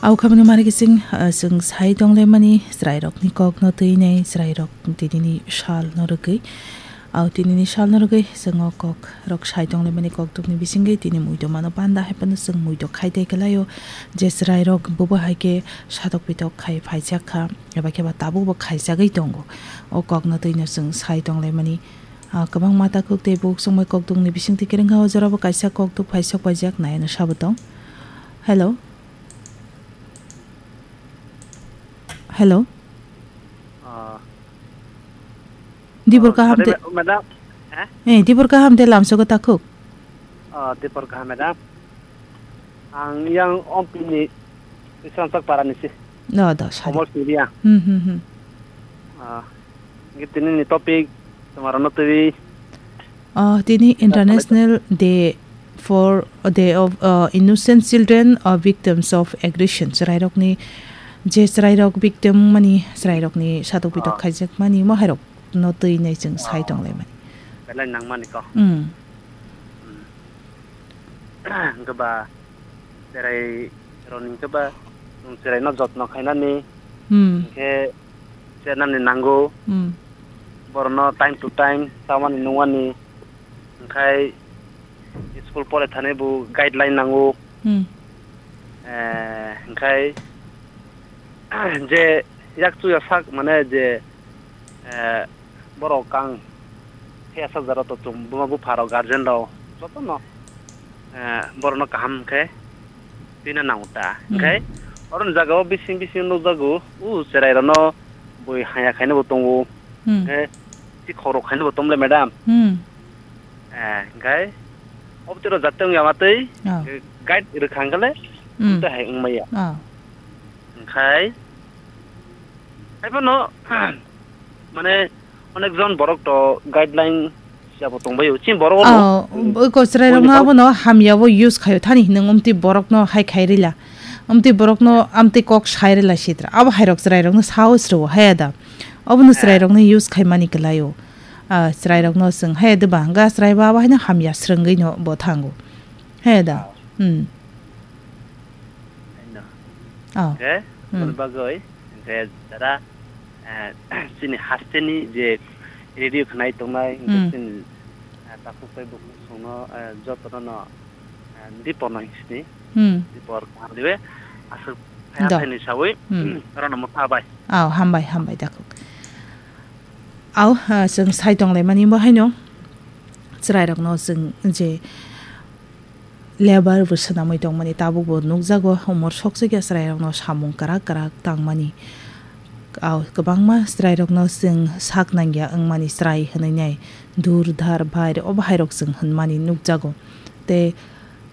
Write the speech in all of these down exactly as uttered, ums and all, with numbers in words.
Au khamani mari kising, ah, chwng sai tonglaimani chwrairokni kokno twinai chwrairok tinini salno rwgwi. Au tinini salno rwgwi chwng o kokrok sai tonglaimani kokdukni bisingwi tini muido mano panda hai phano chwng muido khai tei kwlaio je chwrairok bobo hai khe satok pitok khai phaijak kha eba khe ba tabukbo khaijagwi tongo. O kokno twino chwng sai tonglaimani, ah, kwbangma takhuk tei bukhuk chwngbai kokdukni bisingtwi kwrwngkha o jorabo kaisa kokduk phaisok paijak nai ano sabo tong. Hello. Hello. Ah. Dibor Ah, kaham sorry, te, ma-, madam. Eh? Eh, dibor kaham te lamsogo takhuk. Ah, dibor kaham, madam. Ang yang Ompini Isransak Parani si. No, do, sorry. Komol Surya. Hmm, hmm, hmm. Ah, ngi tini ni topic, tomar no twi. Ah, tini International Day for, Day of, ah, Innocent Children, ah, Victims of Aggression. Chwrairokni, je chwrairok victim mani, chwrairokni satok pitok Ah. khaijak mani, mo hairok no twi nai chwng sai Ah. tong lai mani. Belai nang mani ko. Hmm. Hmm. Hwnkhe ba, chwrai roni hwnkhe ba, chwng chwrai no jotno khainani. Hmm. Hwnkhe chernani nango. Hmm. Borokno time to time chamani nungmani, hwnkhe school pore thani bo guideline nango. Hmm. Eh, hwnkhe je yak chuya sak mane je, eh, borok kang phiya sak jaro to chwng buma bupha rok guardian rok jotono, eh, borokno kaham khe twina nango ta. Hmm. Hwnkhe oro ni jaga o bising bising nukjago, u chwrai rokno bui haya khaina bo tongo. Hmm. Hwnkhe si khorok khaina bo tongle madam. Hmm. Eh, hwnkhe obtwi rok jate wngya matwi, Oh. eh, guide rwkha hwnkhe le Hmm. tei hai wngmaya. Oh. Hwnkhe hai phano, mane, onek jon borok to guideline siyabo tongbaio. Chini borok ono, Oh, mm, oi ko chwrai rokno borok abono hamya bo use khaio thani hinwi umtwi borokno hai khai rila. Umtwi borokno amtwi kok sai rila sitra. Abo hai rok chwrai rokno sao srwo haya da. Obono Eh. chwrai rokno use khai mani kwlaio. Ah, chwrai rokno chwng haya da ba hwnkha chwrai ba abo haino hamya swrwngwi no bo thango. Haya da. Oh. Hmm. Haino. Oh. Hwnkhe, Hmm. aboni bagwi, hwnkhe jara, eh, chini hasteni je radio khnai tongnai, hwnkhe Hmm. chini, eh, takhuk tei bukhuk songno, eh, jotono no, eh, dipor no hingsini, Hmm. dipor kaham dibe, aswk Do. Phaini sawi, Hmm. Rano motha bai. Oh, hambai, hambai, takhuk. Au, ah, chwng sai tonglaimani bo haino chwrairokno chwng je labour bo swnamwi tongmani tabukbo nukjago, umor sokchikya chwrairokno samung kwrak kwrak tangmani. Au, kwbangma chwrairokno chwng sak nangya wngmani chwrai hwnwi nai dur dhar bhair obo hairok chwng hwnmani nukjago. Tei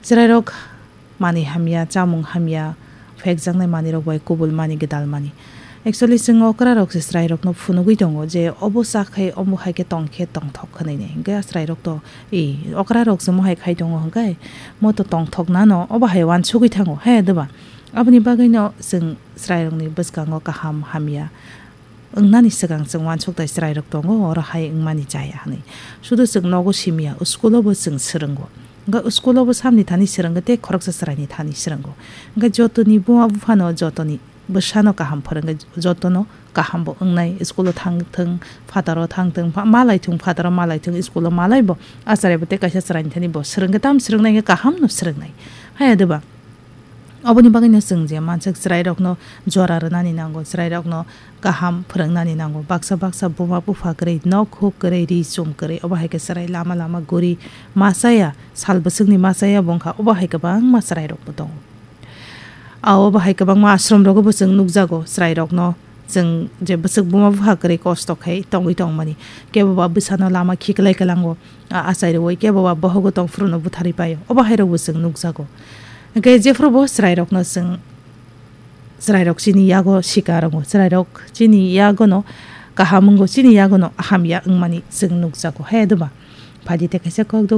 chwrairok manwi hamya, chamung hamya, phekjaknai manwirok bai kubul mani, gwdal mani. Actually, chwng okra rok se chwrai rokno phunugwi tongo je obo cha khe, omo hai khe tong khe tongthok hwnwi ni. Hwnkhe chwrai rok to, e, okra rok se mohai khai tongo hwnkhe, mo to tongthok nano, obo hai uansugwi thango, he, doba? Aboni bagwi no chwng chwrai rokni bwskango kaham hamya wngnani swkang chwng uansuk tai chwrairok tongo, oro hai wngmani chaya hwnwi. Sudu chwng nogo simiya, school-o bo chwng swrwngo. Hwnkhe school-o bo samni thani swrwngwi tei khoroksa chwraini thani swrwngo. Hwnkhe jotoni buma buphano jotoni bwsano kaham phwrwngwi jotono kaham bo wngnai, school-o thang thwng, phataro thang thwng, pha-, malai thung, phataro malai thung, school-o malai bo, achare bo tei kaisa chwraini thani bo swrwngwi tam swrwngnai hwnkhe kaham no swrwngnai. Haya doba? Oboni bagwino chwng je mansak chwrairokno jora rwnani nango, chwrairokno kaham phwrwngnani nango. Baksa baksa buma bupha kwrwi, nok huk kwrwi, ri chum kwrwi, obo hai khe chwrai lama lama guri ma chaya, sal bwswkni ma chaya bo wngkha, obo hai kwbangma chwrairokbo tongo. A, obo hai kwbangma ashram rogo bo chwng nukjago, chwrairokno chwng je bwswk buma bupha kwrwi kosto khai tongwi tongmani, kebo ba bwsano lama khiklai kwlango. A, achai rwui kebo ba bohogo tong phuru no butharwi paio. Obo hai rokbo chwng nukjago. Hwnkhe jephuru bo chwrai rokno chwng, chwrai rok chini yago sika rongo. Chwrai rok chini yago no kaham wngo, chini yago no hamya wngmani chwng nukjago. He doba? Phaidi tei kaisa kok do.